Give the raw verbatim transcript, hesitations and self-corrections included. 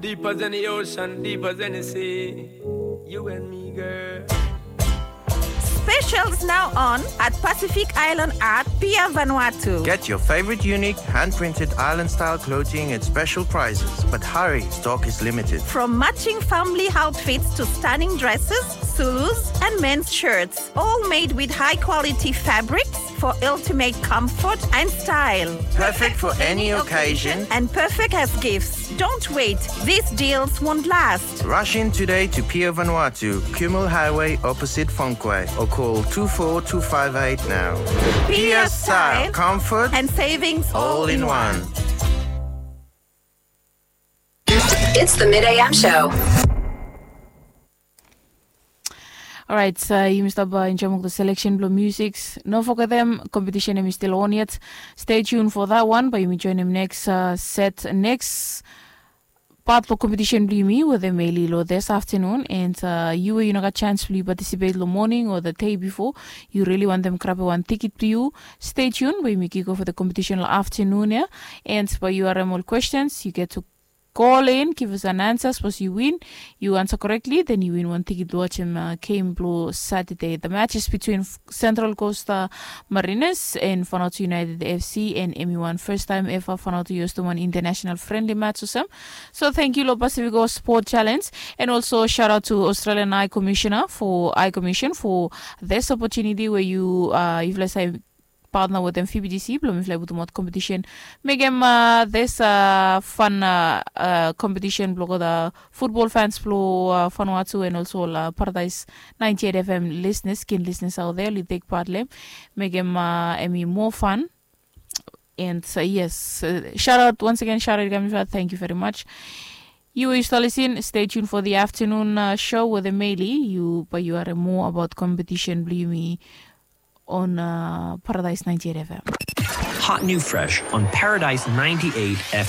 Deeper than the ocean, deeper than the sea. You and me, girl. Specials now on at Pacific Island at Pier Vanuatu. Get your favorite unique hand-printed island-style clothing at special prices. But hurry, stock is limited. From matching family outfits to stunning dresses, Zulus, and men's shirts, all made with high quality fabrics for ultimate comfort and style. Perfect for any occasion. And perfect as gifts. Don't wait, these deals won't last. Rush in today to Pier Vanuatu, Kumul Highway opposite Fonquay, or call two four two five eight now. Pier style, comfort, And savings all in one. It's the Mid A M show. Alright, uh, yumi stap uh, enjoy mok the selection blong music. No forget them competition em is still on yet. Stay tuned for that one, but yumi join them next uh, set next part blong competition blong yumi with the Meli lo this afternoon. And uh, you you no got chance blong participate lo morning or the day before. You really want them grab one ticket blong you. Stay tuned, but yumi kick off with the competition lo afternoon, yeah. And but you are all questions, you get to call in, give us an answer. Suppose you win, you answer correctly, then you win one ticket to watch him uh, game blue Saturday. The match is between Central Coast uh, Mariners and Vanuatu United F C, and M U one first time ever Vanuatu used to one international friendly match or some. So thank you, Lo Pacifico Sport Challenge, and also shout out to Australian High Commissioner for High Commission for this opportunity where you uh, if let's say partner with them F B D C blong mifala i putum out competition. Mekem uh, this uh, fun uh, uh, competition blong the football fans blong uh, Vanuatu and also uh, Paradise ninety-eight F M listeners, keen listeners out there, li take part lem. Mekem uh, emi more fun. And uh, yes, uh, shout out once again, shout out Gamifat, thank you very much. You used to listen. Stay tuned for the afternoon uh, show with Emily. You, but you are more about competition blong yumi on uh, Paradise ninety-eight F M. Hot new fresh on Paradise ninety-eight F M.